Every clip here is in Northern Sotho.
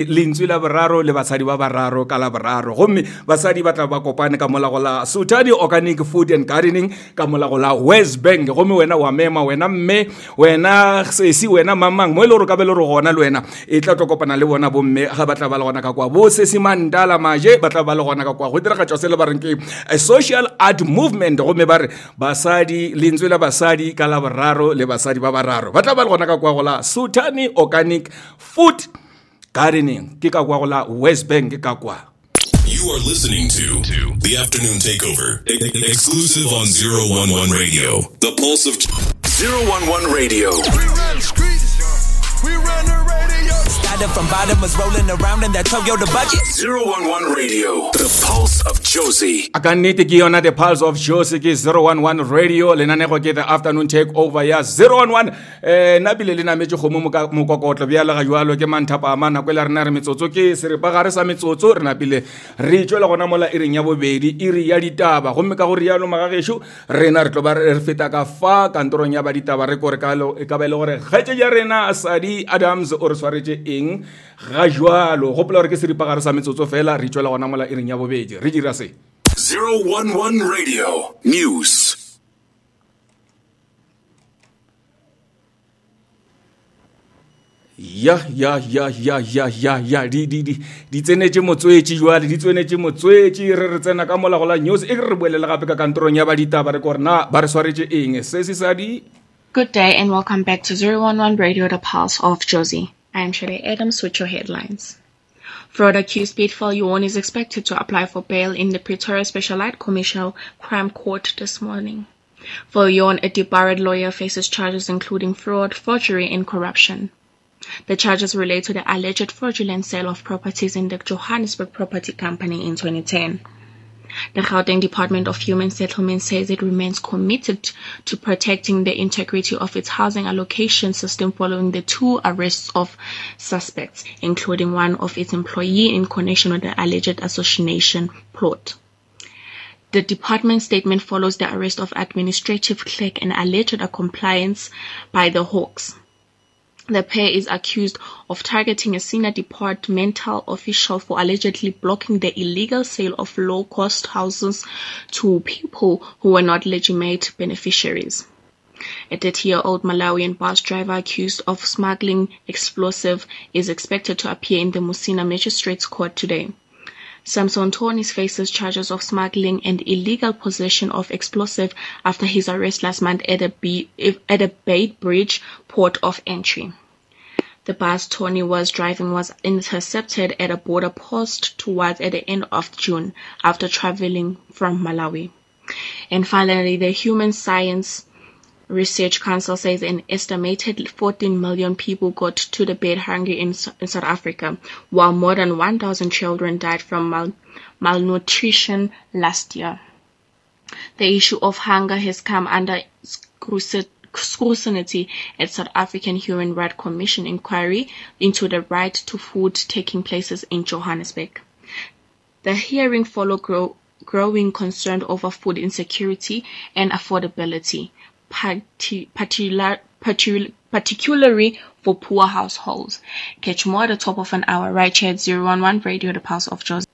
Lentswe la boraro le basadi ba bararo ka la boraro gomme basadi ba tla ba kopane ka mola go la Sotadi Organic Food and Gardening ka mola go la West Bank gomme wena wa mema wena mme wena sesi wena mamang mo e le gore ka be le gore gona le wena e tla tlo kopana le bona bomme ga ba tla ba le gona ka kwa bo sesi mandala maje ba tla ba le gona ka kwa go diragatšwa se le ba reng ke a social art movement gomme ba re basadi lentswe la basadi ka la boraro le basadi ba bararo ba tla ba le gona ka kwa go la Sotani Organic Food Gardening ke ka kwa go la West Bank ka kwa. You are listening to The Afternoon Takeover, exclusive on 011 Radio, the pulse of 011 Radio. We run the streets. We run the radio. Started from bottom, was rolling around in that Toyota bucket. 011 Radio, the pulse of Jozi. A ka nnete ke yona the pulse of Jozi ke 011 Radio lenanego ke the afternoon takeover ya 011 um nna bile le nametše kgomo mokokotlo bjale ga jalo ke manthapama nako e le rena re metsotso ke seripagare sa metsotso re napile re tšwela gona mola iring ya bobedi iri ya ditaba gomme ka go rialo magagešo rena re tlo ba re feta ka fa kantorong ya ba ditaba re kore e ka ba e le gore kgaetšedi ya rena sadi adams o re swaretše eng ga jalo gopola gore ke seripagare sa metsotso fela re tšwela gona mola iring ya bobedi re dira se 011 Radio News. ya ya ya ya ya ya ya di di di di tsenetše motswetši jwale di tsenetše motswetši re re tsena ka mola go la news e re re boelele gape ka kantorong ya ba ditaba re kore na ba re swaretše eng se se sa di Good day and welcome back to 011 Radio The Pulse of Jozi. I am Shirley Adams with your headlines. Fraud accused Pete Viljoen is expected to apply for bail in the Pretoria Specialized Commercial Crime Court this morning. Viljoen, a debarred lawyer, faces charges including fraud, forgery and corruption. The charges relate to the alleged fraudulent sale of properties in the Johannesburg Property Company in 2010. The Gauteng Department of Human Settlement says it remains committed to protecting the integrity of its housing allocation system following the two arrests of suspects, including one of its employees in connection with the alleged assassination plot. The department statement follows the arrest of administrative clerk and alleged compliance by the Hawks. The pair is accused of targeting a senior departmental official for allegedly blocking the illegal sale of low-cost houses to people who were not legitimate beneficiaries. A 30-year-old Malawian bus driver accused of smuggling explosive is expected to appear in the Musina Magistrates Court today. Samson Tonis faces charges of smuggling and illegal possession of explosive after his arrest last month at a, B, at a Bridge port of entry. The bus Tony was driving was intercepted at a border post towards at the end of June after traveling from Malawi. And finally, the Human Science Research Council says an estimated 14 million people got to the bed hungry in, in South Africa, while more than 1,000 children died from mal- malnutrition last year. The issue of hunger has come under scrutiny at South African Human Rights Commission inquiry into the right to food taking places in Johannesburg. The hearing followed grow, growing concern over food insecurity and affordability, particular, particularly for poor households. Catch more at the top of an hour right here at 011 Radio, the Pulse of Jozi.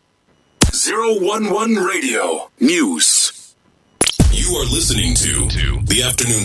011 Radio News. You are listening to The Afternoon Takeover.